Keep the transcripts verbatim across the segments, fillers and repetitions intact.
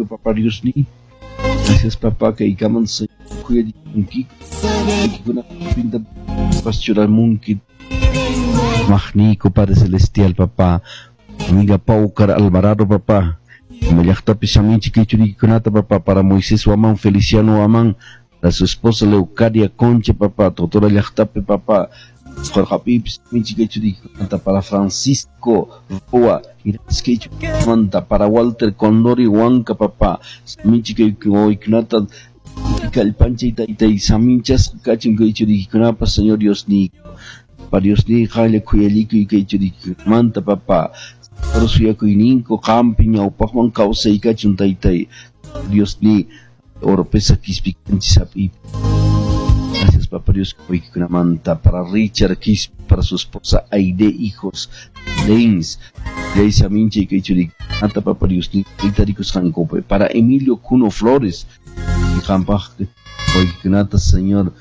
Papá Dios ni. Gracias, papá, que ikaman sa kuya di pinta pastoral munki. Magnico, Padre Celestial, papá. Amiga Paucar Alvarado, papá. Llaqtapi saminchi kay churikikunata, papá, para Moisés Huamán, Feliciano Huamán, para su esposa Leucadia Concha, papá, Totora llaqtapi, papá. Jorge saminchi kay churikikunata, para Francisco Roa, kay churikikunata, para Walter Condori Huanca, papá. Saminchi kay churikikunata, kallpanchay taytay saminchasqa kachun kay churikikunapa, Señor Dios ni. Pa Dios ni qalla khuyallikuy kay churikikunamanta, papá. Suyakuyninko qampi ñawpaqman kawsaykachun taytay Dios ni Oropesa Quispi kanchis. Gracias, papá Dios, manta para Richard Quispe, para su esposa Aide, hijos Leins, Leisa Minche kay churikikunata, papá Dios ni tarikusqankupi, para Emilio Cuno Flores, qampaq waykikunata, Señor,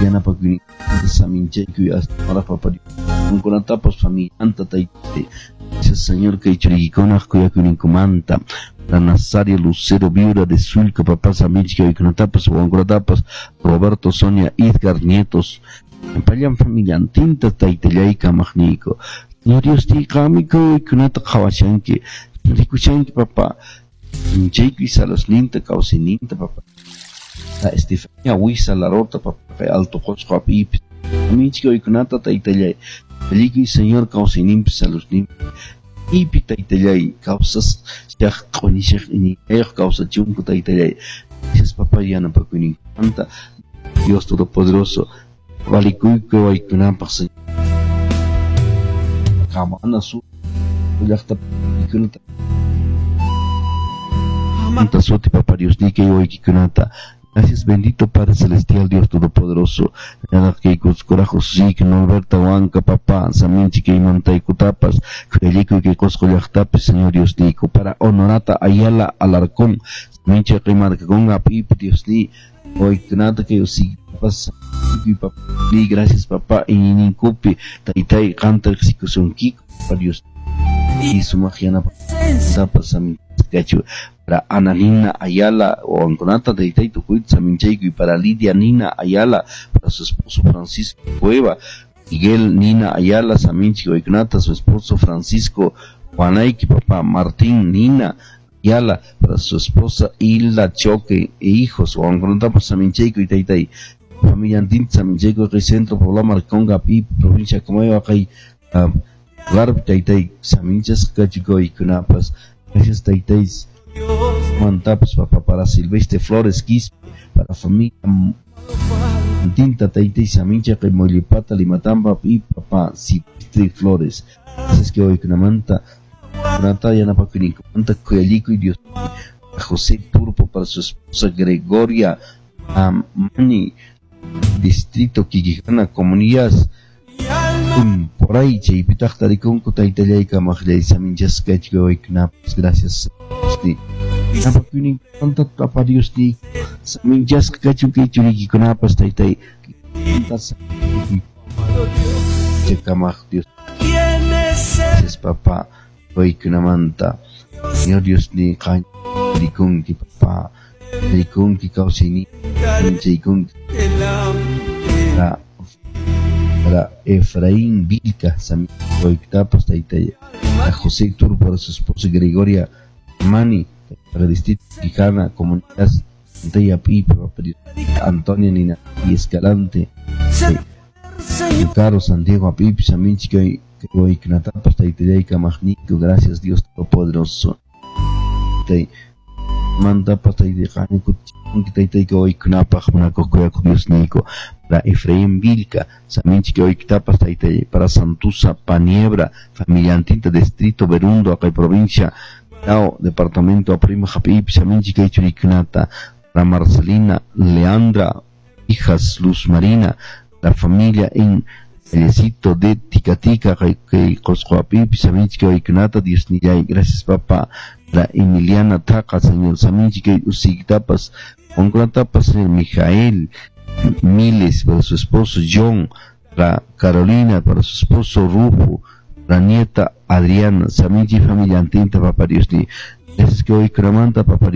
yanapakuyninta saminchaykuy hasta ahora, papá Dios, qankunatapas familianta taytay. Gracias, Señor, kay churikikunaq kuyakuyninkumanta, para Nazario Lucero, viuda de Sulca, papá, saminchik waykunatapas, wawankunatapas, Roberto, Sonia, Edgar, nietos, pallan familiantinta taytallay kamaqniyku. Señor Dios, qami kuykunata qhawashanki, rikushanki, papá, chaykuy salosninta, kawsayninta, papá. La Estefania Huiza Larota, papá, kay Alto Qosqo apipi, saminchik waykunata taytallay, allikuy, Señor, kawsayninpi, salosninpi, ipi taytallay, kawsas shaq q'unishaq iñiyayuq kawsachunku taytallay. Gracias, papá, yanapakuyninkumanta, Dios Todopoderoso, valikuyku waykunapaq, Señor. Kamana su llaqta kunata suti, papá Dios ni kay waykikunata. Gracias, bendito Padre Celestial, Dios Todopoderoso. Kay kuskurajos sik Norberta Huanca, papá, saminchi kay mantaykutapas, khuyallikuy kay Qosqo llaqtapi, Señor Dios niyku. Para Honorata Ayala Alarcón, saminchi kay markakunqa apipi, Dios ni, waykunata kay usiktapas, ni gracias, papá, iñininkupi, taytay qanta riqsikusunkiku, papá Dios. Y sumaq yanapatapas saminchaykachu. Para Ana Nina Ayala, o Anconata taytay tukuyta saminchaykuy, para Lidia Nina Ayala, para su esposo Francisco Cueva, Miguel Nina Ayala, saminchi waykunata, su esposo Francisco Juanayki, papá, Martín Nina Ayala, para su esposa Hilda Choque e hijos, o Anconata saminchaykuy taytay, familia antinta saminchaykuy kay centro poblado Marconga, pi, provincia Comayagua, kay lugar taytay saminchas kachikoykunapas. Gracias, taytay. Mantapas, papá, para Silvestre Flores Quispe, para familia Tinta taytay samincha kay Mollepata Limatampa y papá Silvestre Flores. Gracias que hoy kunamanta kunata yanapakuyninkumanta khuyallikuy Dios. José Turpo, para su esposa Gregoria Amani, distrito Quiquijana, comunidad por ahí chaypitaq tarikunku taytallay kamaqllay saminchasqa kachkawaykunapas. Gracias, yanapakuyninkumanta papá Dios ni saminchasqa kachun kay churiykikunapas taytay kamaq Dios. Gracias, papá, waykunamanta, Señor Dios ni qan rikunki, papá, rikunki kawsayni chaykunki. Para para Efraín Vilca, saminchaytapas taytay, a José Turpo, para su esposa Gregoria Mani, para distrito Quijana, comunidad Pipe, Antonia Nina y Escalante, Caro Santiago Apipi, saminchikay waykunatapas taytallay kamaqniyku. Gracias, Dios Todopoderoso. Mantapas taytay taytay waykunapaq munakuq kuyakuq Dios niyku. Para Efraín Vilca, saminchik waykitapas taytay, para Santusa Paniebra, familiantinta distrito Berundo, acá provincia Tao, departamento Aprima Japipi, saminchik kay churikunata, para Marcelina Leandra, hijas Luz Marina, la familia en Vallecito de Ticatica, kay Qosqo apipi, saminchik waykunata, Dios nillay. Gracias, papá. La Emiliana Taca, Señor, saminchik kay usiktapas, onkunatapas, Señor Mijael Miles, para su esposo John, para Carolina, para su esposo Rufo, la nieta Adriana, saminchi familia antinta, papá Dios ni. Gracias que hoy cramanta, papá Dios.